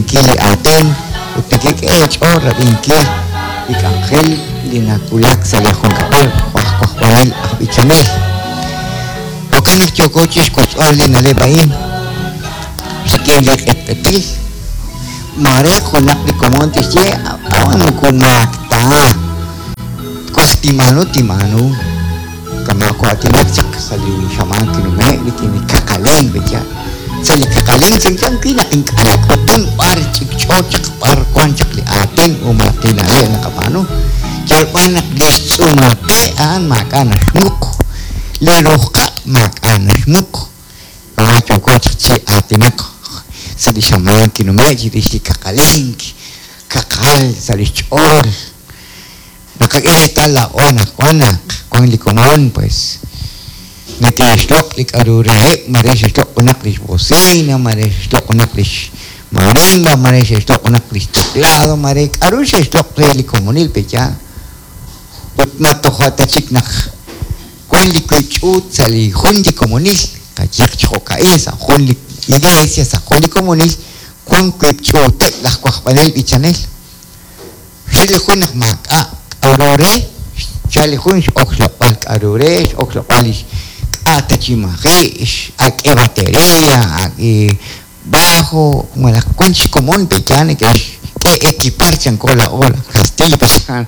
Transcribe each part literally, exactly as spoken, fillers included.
Rab'inkil li aatin ut nekek'e eech'ool rab'inkil li k'anjel li nawulak sa' li junkab'al jo' aj wajb'anel aj b'ichanel. Jo'kan naq yooko chixwotzb'al li na'leb' a'in rik'in li q'etq'etil. Maare junaq li komon tixye a'an moko maak ta. Twaj tinb'aanu tinb'aanu kama' ko'aatinak chaq sa' li xamaan kinume' rik'in li kaqalink pe'yaal. Sa' li kaqalink chanchan wi' naq ink'a' nak'utun b'ar ch'ikch'o chaq b'ar wan chaq li aatin o malaj li na'leb' naqab'aanu. Yal b'an naq li xtz'uumal qe a'an maak'a' naxmuq, li ruq' qaq' maak'a' naxmuq. Kama' yooko chaq chi aatinak sa' li xamaan kinume' chirix li kaqalink, kaqal sa' li xch'ool. Naqak'e reetal laa'o anaqwan naq wan li komon pues neke'xloq' li k'a'ru reheb', mare xe'xloq' junaq lix bocina, mare xe'xloq' junaq lix marimba, mare xe'xloq' junaq lix teclado, mare k'a'ru xe'xloq' re li komonil pe'yaal. Ut ma toja' ta chik naq wan li wiib' ch'uut sa' li jun li komonil, qayehaq chi jo'ka'in sa' jun li iglesia, sa' jun li komonil, wan wiib' ch'uuteb' laj wajb'anel b'ichanel. Xel li jun naq maak'a' k'a'ru re, xchal li jun x'ok xloq'b'al k'a'ru re, x'ok xloq'b'al lix k'a' ta chi maji', ak'e batería, ak'e bajo, malaj wan xkomon pe'yaal neke'xk'e equipar chanko laa'o laj Castillo pe'yaal.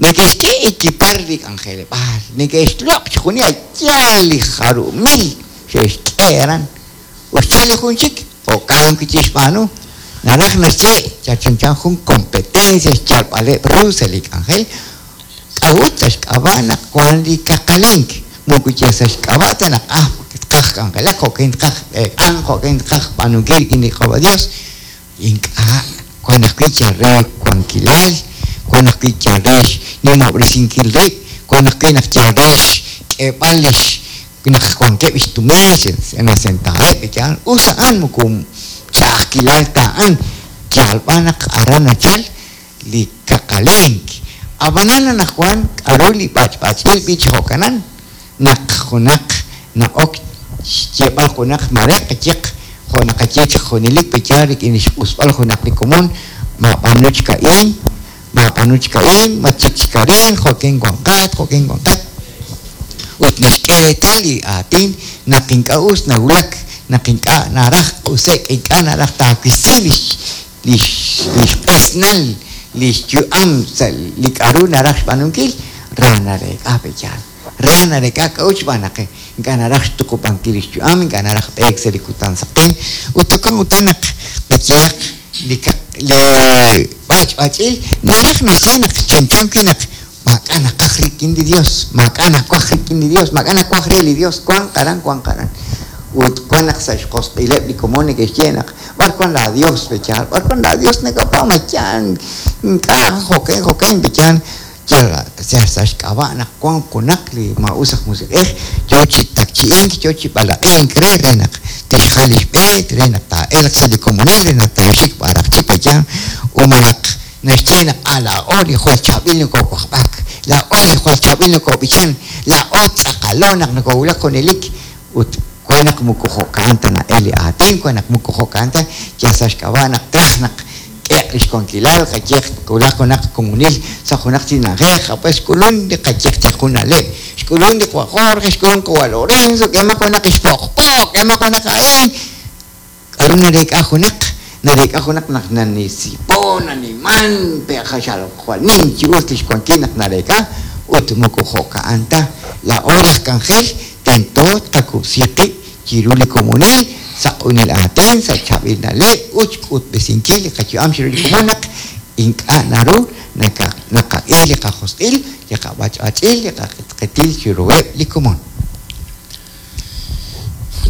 Neke'xk'e equipar li k'anjeleb'aal, neke'xloq' chixjunil a' yaal li jarub'mil xe'xk'e aran. Ut xchal li jun chik, jo'kan wi' chixb'aanu. Naraj naxye chanchan jun competencia xyalb'aleb' ru sa' li k'anjel. K'a'ut sa' xk'ab'a' naq wan li kaqalink. Moko yal sa' xk'ab'a' ta naq ah tqaj k'anjelak, jo'kan tqaj eek'an, jo'kan tqaj b'aanunkil rik'in li Qaawa' Dios. Ink'a' wan ajwi' yal re wankilal, wan ajwi' yal re xnimob'resinkil rib', wan ajwi' naq yal re xk'eeb'al lix naq wankeb' xtumin nasentaab'eb' yaal. Us a'an moko ch'a'ajkilal ta a'an, yal b'an naq aran nachal li kaqalink. Ab'anan anaqwan k'a'ru li b'ach'b'ach'il b'ich jo'kanan naq junaq na'ok xyeeb'al junaq mare qayehaq jo' naqaye chaq junelik pe'yaal rik'in li xq'usb'al junaq li komon, maab'aanu chik a'in, maab'aanu chik a'in, matchik chik arin, jo'kin wanqat, jo'kin wanqat. Ut naxk'e reetal li aatin naq ink'a' us nawulak, naq ink'a' naraj q'use'k, ink'a' naraj taawisi lix lix lix q'esnal lix yu'am sa' li k'a'ru naraj xb'aanunkil, ra nareek'a pe'yaal. Ra nareek'a k'a'ut xb'aan naq ink'a' naraj xtuqub'ankil lix yu'am, ink'a' naraj b'eek sa' li kutan saqen. Ut jo'kan utan naq qayehaq li li b'ach'b'ach'il naraj naxye naq chanchan wi' naq maak'a' naqaj rik'in li Dios, maak'a' nawaj rik'in li Dios, maak'a' nawaj re li Dios, wan qaran, wan qaran. Ut wan naq sa' xjosq'ileb' li komon neke'xye naq b'ar wan la Dios pe'yaal, b'ar wan la Dios nakab'aanu mayaan, ink'a' jo'kan jo'kan pe'yaal. Yal sa' xk'ab'a' naq wan junaq li maa'us aj musiq'ej yoo chi takchi'ink, yoo chi b'alaq'ink re re naq tixjal lix b'e, re naq taa'elq sa' li komonil, re naq taaxik b'araq chik pe'yaal. O malaj naxye naq ah laa'o li jwal chaab'il nokowajb'ak, laa'o li jwal chaab'il nokob'ichan, laa'o tz'aqalo naq nokowulak junelik. Ut wan naq moko jo'kan ta na'el li aatin, wan naq moko jo'kan ta yal sa' xk'ab'a' naq traj naq k'eq lix wankilal, qayehaq wulak junaq komonil sa' junaq chi na'ajej, pues xk'ulun li qayehaq chaq jun na'leb', xk'ulun li qawa' Jorge, xk'ulun qawa' Lorenzo, k'emaq junaq ixpoq'poq, k'emaq junaq a'in. K'a'ru nareek'a junaq, nareek'a junaq naq nanisipo, naniman, pe jaxal jwal nim chi us lix wankil naq nareek'a, ut moko jo'ka'an ta. Laa'o laj k'anjel tento tqakub'si qib' chiru li komonil, sa' q'unil aatin, sa' chaab'il na'leb', ut xk'utb'esinkil li qayu'am chiru li komon naq ink'a' naru naqak'e li qajosq'il, li qab'ach'b'ach'il, li qaq'etq'etil chiruheb' li komon.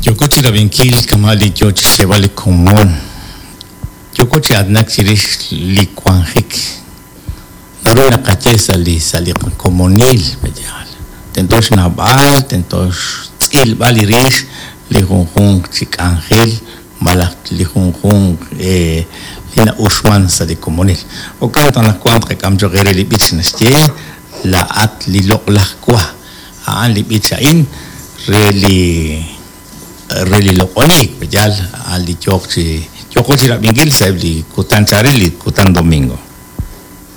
Yoko chi rab'inkil kama' li yoo chi xyeeb'al li komon. Yoko chi aatinak chirix li wanjik. Naru naqaye sa' li sa' li komonil pe'yaal. Tento xnawb'al, tento xtz'ilb'al li rix li junjunq chi k'anjel malaj li junjunq li na'uxman sa' li komonil. Jo'kan naq anaqwan tqak'am cho'q re li b'ich naxye laa'at li loq'laj wa. A'an li b'ich a'in re li re li loq'oniik pe'yaal, a'an li yooq chi Yooko chi rab'inkil sa' eb' li kutan chaalel, li kutan domingo.